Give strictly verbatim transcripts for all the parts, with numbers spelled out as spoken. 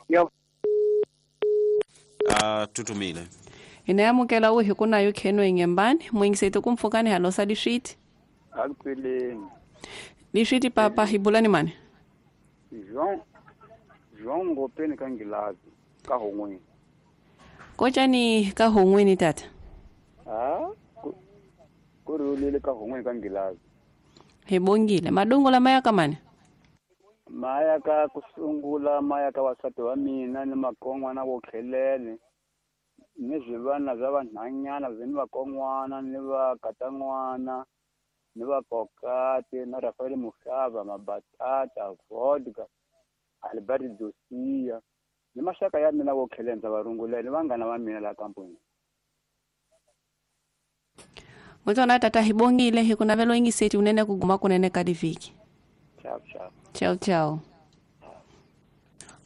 Yo. A tutumile. Ina amukela u hi ku na yo khenwe ngembani mwingiseto kumfukani halosa liswiti. Akupeleni. Liswiti papa hibulani mani. João João ngopeni kangilazi ka hongweni. Kochani ka hongweni tata. Ah ku rulile ka hongweni kangilazi. Hibongile madongo la maya kamani. Maya ka kusungula maya ka wasati wa mina ni makongwana wo khelele. Ni zvivana zva vanhanyana veni vakon'wana ni vakatan'wana ni vakokati na Rafael Muxava Mabatata vodka Albert Dosia ni maxaka ya mina wo khelenza varungulela ni vanghana va mina la kampuni. Mutona tata hibongile hi ku navelo ingiseti unene kuguma kunene ka diviki. Ciao ciao. Ciao ciao.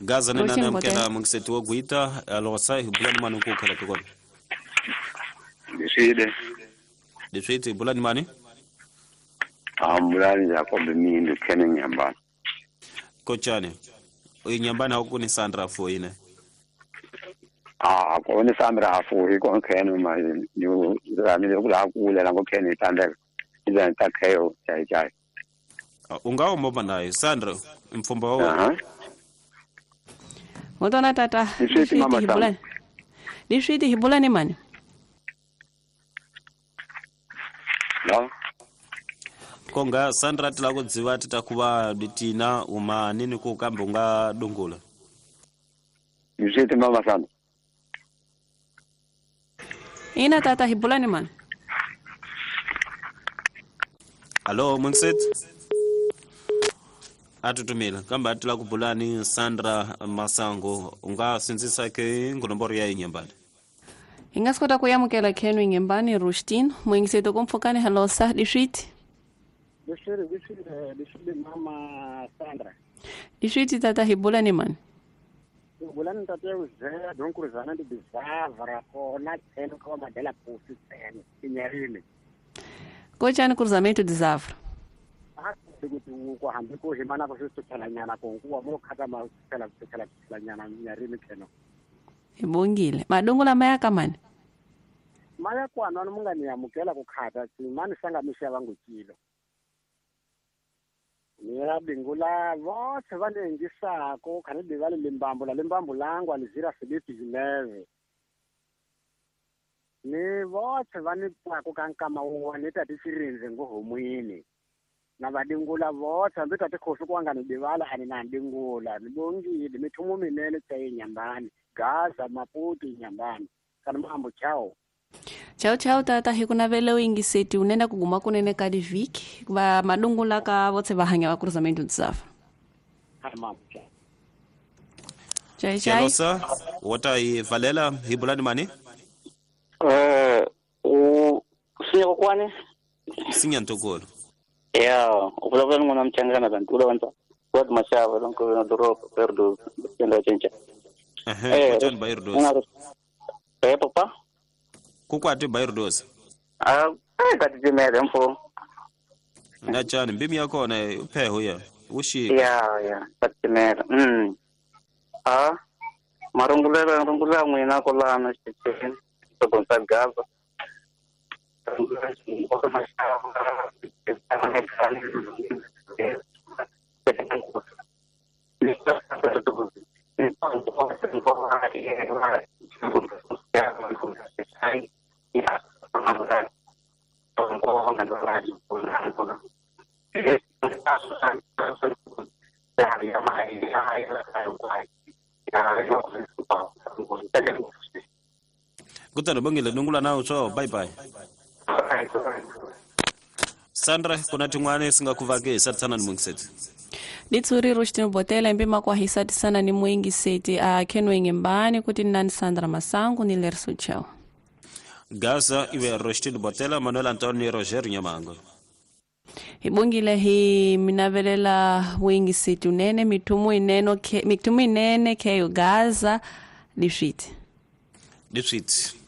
Gaza nena namkela mungiseti wo guita alosa hibulani mani ku khala tukona. Leswile. Leswile hibulani mani? Ambulani Jacob Mindu kene nyambani. Kochane. Uyinyambani hauku ni Sandra foine. Ah, ko ni Sandra fo iko kene ma ni rami le kula kule la ngokene tandeka. Iza ntakheyo chai chai. Ungawo mobana naye Sandra mfumba wa. Mutona tata hibulani. Liswiti hibulani mani. No. Konga Sandra tila ku dziva titakuva ditina uma nini ku kambe unga dungula. Liswiti mama Sandra. Ina tata hibulani mani. Hello Munset. Atutumila kamba atila kubulani Sandra Masango unga sinzisa ke ngonomboro ya inyambani. Ingasikota kuyamukela khenwe ngembani Rustin mwingiseto kumfukani halosa liswiti. Liswiti liswiti liswiti mama Sandra. Liswiti tata hibulani mani. Hibulani tata uzela donkuruzana ndi bizavra kona tseno kwa madela pusi tseno inyarini. Kochani cruzamento de Zavra. Kuti ku hambi ku himana ku swithelanyana ku nkuwa mo khata ma phela phela phelanyana nyarini kheno. Hibongile madongo la maya kamani. Maya kwana no mungani yamukela ku khata tsimani sanga misha vangukilo. Nira bingula vothe vanengisako khane divale limbambo la limbambo langu alizira Filipi Gineve. Ni vothe vanipako kankama wa neta tisirinze ngohomwini. Na vadingula vothe hambi tate khosi ku anga ni divala ani na dingula ni bongile mithumo minene tsaye nyambani Gaza Maputo nyambani kana mambo chao. Chao chao tata hi ku navela ingiseti unena kuguma kunene ka diviki va madungula ka vothe va hanya va cruzamento de Zavra. Ha mambo chao. Chai chai. Chelosa wota i valela hibulani mani? Eh u sinya kwani? Sinya ntokolo. Ya, uvulavula n'wana mchangana kanti ula wa mashava lonko na doroba perdo kenda chencha. Eh, kochani bayirdos. Eh papa. Kukwati bayirdos. Ah, eh kati mfo. Na chani mbimi yakona upheho ya. Ushi. Ya, ya, katimela. Mm. Ah, marungulela marungula n'wina kolana xichini. Tobonsa Gaza. Kutano bongile nungula nawo so bye bye. Sandra kuna tin'wana singakuvake satsana ni mungiseti. Litsuri Rustin Botela mbima kwa hisati sana ni mwingiseti a kenwe ngembani kuti nani Sandra Masango ni lerso chao. Gaza iwe Rustin Botela Manuel Antonio Roger Nyamango. Hibongile hi minavelela wingiseti unene mitumu ineno ke mitumu inene keyo Gaza lishiti. Lishiti.